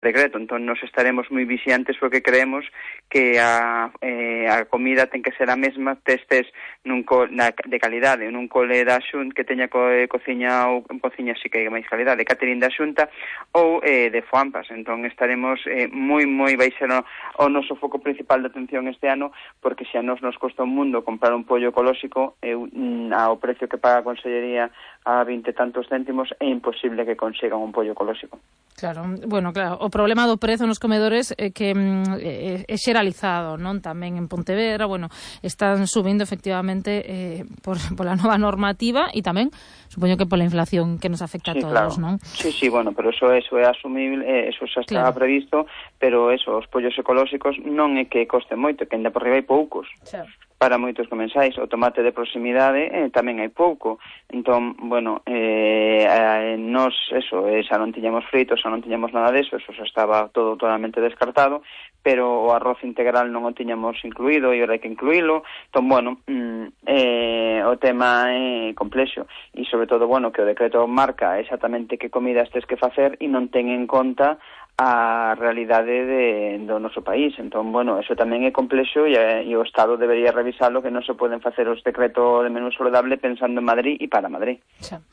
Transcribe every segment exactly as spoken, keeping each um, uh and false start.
decreto, entón nos estaremos moi vixiantes porque creemos que a, eh, a comida ten que ser a mesma testes nun co, na, de calidade, nun cole da Xunta que teña co, eh, cociña ou cociña así que máis calidade, catering da Xunta ou eh, de Foampas, entón estaremos eh, moi moi baixo no, o noso foco principal de atención este ano, porque se a nos nos costa un mundo comprar un pollo ecolóxico, eu, ao precio que paga a Consellería a vinte tantos céntimos, é imposible que consigan un pollo ecolóxico. Claro, bueno, claro, o problema do prezo nos comedores é que é, é xeralizado, non? Tamén en Pontevedra, bueno, están subindo efectivamente eh, por, por la nova normativa e tamén, supoño que pola inflación que nos afecta sí, a todos, claro. non? Sí, sí, bueno, pero eso, eso é asumible, eso xa está claro. previsto, pero eso, os pollos ecolóxicos non é que costen moito, que ainda por riba hai poucos. Claro. Para moitos comensais, o tomate de proximidade eh, tamén hai pouco. Entón, bueno, eh, eh, nos, eso, eh, xa non tiñamos fritos, xa non tiñamos nada deso, eso xa estaba todo totalmente descartado, pero o arroz integral non o tiñamos incluído e ora hai que incluílo. Entón, bueno, mm, eh, o tema é complexo e, sobre todo, bueno, que o decreto marca exactamente que comidas tes que facer e non ten en conta a realidade de, do noso país. Entón, bueno, eso tamén é complexo e, e o Estado debería revisarlo, que non se poden facer os decretos de menú saludable pensando en Madrid e para Madrid. Xa.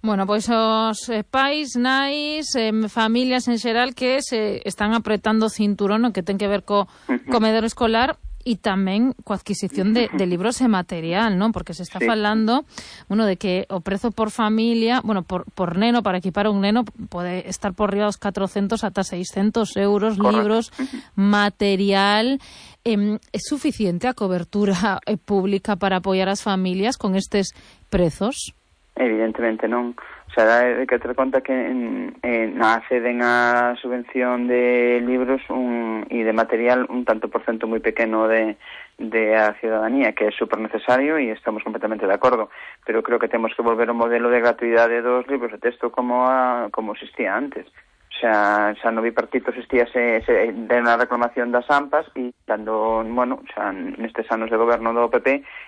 Bueno, pois os eh, pais, nais, eh, familias en xeral que se están apretando o cinturón, no que ten que ver co comedor escolar e tamén coa adquisición de, de libros e material, non? Porque se está sí. falando, bueno, de que o prezo por familia, bueno, por, por neno, para equipar un neno, pode estar por riba dos catrocentos ata seiscentos euros, correcto. Libros, material. Eh, é suficiente a cobertura eh, pública para apoiar as familias con estes prezos? Evidentemente non. O sea, hai que ter conta que en, en, acceden a subvención de libros un, e de material un tanto por cento moi pequeno de, de a ciudadanía, que é super necesario e estamos completamente de acordo, pero creo que temos que volver ao modelo de gratuidade dos libros de texto como a, como existía antes. Xa, xa no bipartito existía se, se, de unha reclamación das AMPAs e cando, bueno, xa nestes anos de goberno do P P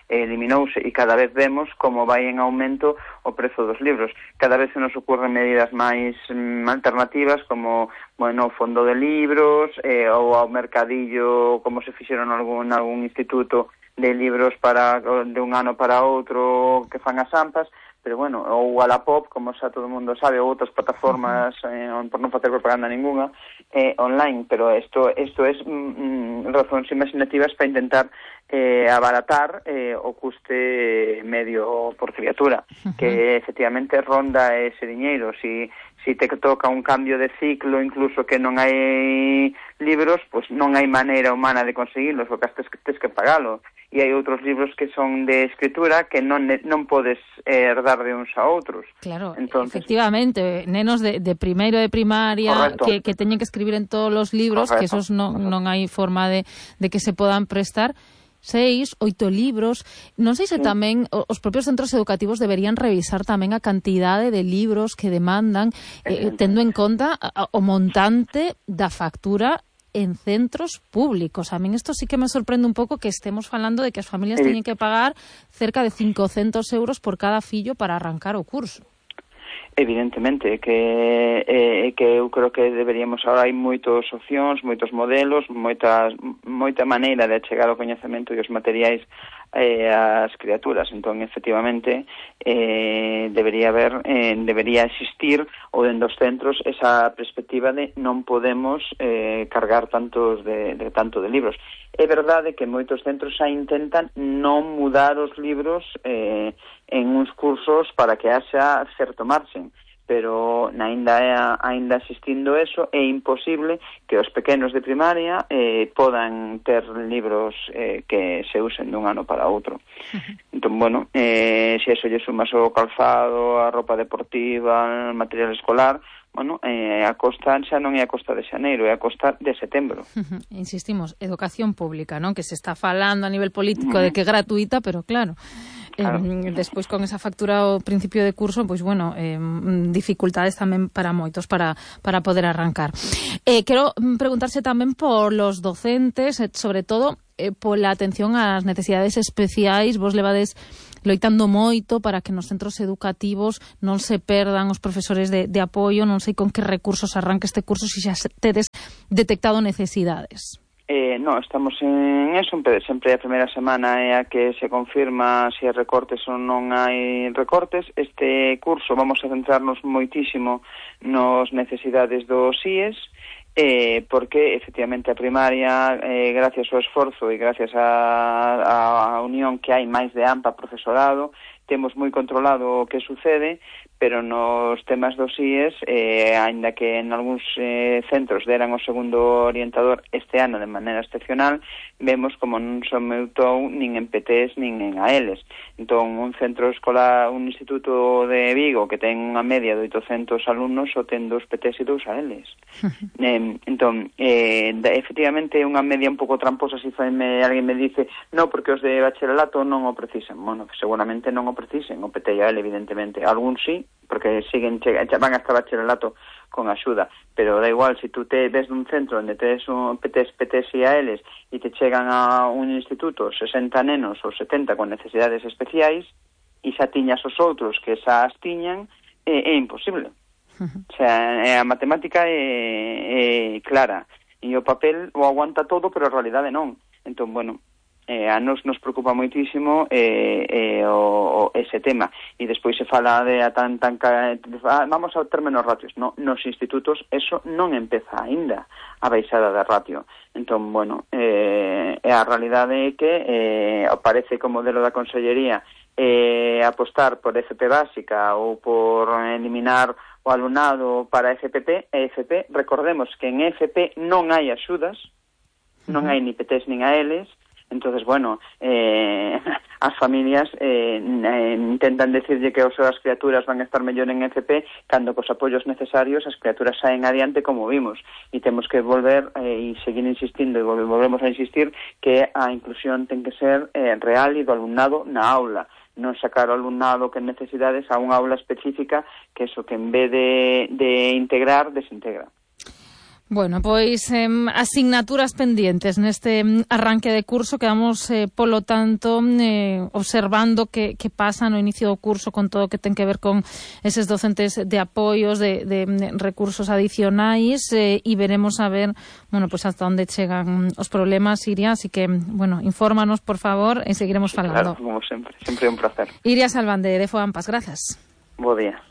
eliminouse e cada vez vemos como vai en aumento o prezo dos libros. Cada vez se nos ocurren medidas máis mm, alternativas como, bueno, o fondo de libros eh, ou ao mercadillo como se fixeron algún, algún instituto de libros para de un ano para outro que fan as AMPAs. Pero bueno, ou Wallapop, como xa todo o mundo sabe, ou outras plataformas, eh, por non facer propaganda ninguna, eh, online, pero isto isto é mm, razóns imaginativas para intentar eh, abaratar eh, o custe medio por criatura, uh-huh. que efectivamente ronda ese diñeiro. Si, si te toca un cambio de ciclo, incluso que non hai libros, pues non hai maneira humana de conseguirlos, porque tes, tes que pagalo. E hai outros libros que son de escritura que non non podes eh, herdar de uns a outros. Claro, entonces, efectivamente, nenos de, de primeiro de primaria que, que teñen que escribir en todos os libros, correcto, que esos non, non hai forma de, de que se podan prestar. Seis, oito libros. Non sei se sí. tamén os propios centros educativos deberían revisar tamén a cantidade de libros que demandan, eh, tendo en conta o montante da factura en centros públicos. A min isto sí que me sorprende un pouco que estemos falando de que as familias sí. teñen que pagar cerca de cincocentos euros por cada fillo para arrancar o curso. Evidentemente, que eh, que eu creo que deberíamos, ahora hai moitas opcións, moitos modelos, moitas, moita maneira de achegar o coñecemento e os materiais eh, ás criaturas. Entón, efectivamente, eh, debería haber, eh, debería existir ou dentro dos centros esa perspectiva de non podemos eh, cargar tantos de, de tanto de libros. É verdade que moitos centros xa intentan non mudar os libros eh, en uns cursos para que haxa certo marxen, pero ainda ainda existindo eso, é imposible que os pequenos de primaria eh, podan ter libros eh, que se usen dun ano para outro. Uh-huh. Entón, bueno, eh, se eso lle sumas o calzado, a roupa deportiva, o material escolar, bueno, eh, a costa xa non é a costa de xaneiro, é a costa de setembro. Uh-huh. Insistimos, educación pública, non? Que se está falando a nivel político uh-huh. de que é gratuita, pero claro... Claro. Eh, despois con esa factura ao principio de curso, pois bueno, eh, dificultades tamén para moitos para, para poder arrancar. Eh, quero preguntarse tamén por los docentes, eh, sobre todo eh, pola atención ás necesidades especiais. Vos levades loitando moito para que nos centros educativos non se perdan os profesores de, de apoio. Non sei con que recursos arranca este curso, se xa tedes detectado necesidades. Eh, no, estamos en eso, sempre a primeira semana é a que se confirma se hai recortes ou non hai recortes. Este curso vamos a centrarnos moitísimo nos necesidades dos I E S, eh, porque efectivamente a primaria, eh, gracias ao esforzo e gracias á unión que hai máis de AMPA profesorado, temos moi controlado o que sucede, pero nos temas dos I E S, eh, ainda que en algúns eh, centros deran o segundo orientador este ano de maneira excepcional, vemos como non se aumentou nin en P Ts nin en A Ls. Entón, un centro escolar, un instituto de Vigo que ten unha media de oitocentos alumnos só ten dos P Ts e dos A Ls. eh, entón, eh, efectivamente é unha media un pouco tramposa. Se me, alguén me dice, no, porque os de bacharelato non o precisan. Bueno, seguramente non o precisen, o P T e A L, evidentemente. Algún sí, porque siguen van hasta bacharelato con axuda, pero da igual, se si tú te ves dun centro onde tes un P Ts, P Ts e A Ls e te chegan a un instituto sesenta nenos ou setenta con necesidades especiais e xa tiñas os outros que xa as tiñan, é, é imposible. Uh-huh. O sea, a matemática é, é clara e o papel o aguanta todo, pero a realidade non. Entón, bueno, Eh, a nos nos preocupa moitísimo eh, eh, o, o ese tema. E despois se fala de a tan tan vamos a ter menos ratios. No, nos institutos eso non empeza aínda a baixada da ratio. Entón, bueno, eh, a realidade é que eh, parece como modelo da Consellería eh, apostar por F P básica ou por eliminar o alumnado para F P P e F P. Recordemos que en F P non hai axudas, non hai ni P Ts nin A Ls. Entonces, bueno, eh, as familias eh, eh, intentan decirlle que as súas criaturas van a estar mellor en F P cando cos apoios necesarios as criaturas saen adiante, como vimos, e temos que volver eh, e seguir insistindo e volvemos a insistir que a inclusión ten que ser eh, real e do alumnado na aula, non sacar o alumnado que necesidades a unha aula específica que eso que en vez de, de integrar, desintegra. Bueno, pois eh, asignaturas pendientes neste arranque de curso. Quedamos, eh, polo tanto, eh, observando que, que pasa no inicio do curso con todo o que ten que ver con eses docentes de apoios, de, de, de recursos adicionais, eh, e veremos a ver, bueno, pues hasta onde chegan os problemas, Iria, así que, bueno, infórmanos, por favor, e seguiremos sí, falando. Claro, como sempre, sempre un placer. Iria Salván, de FOAMPAS, grazas. Bo día.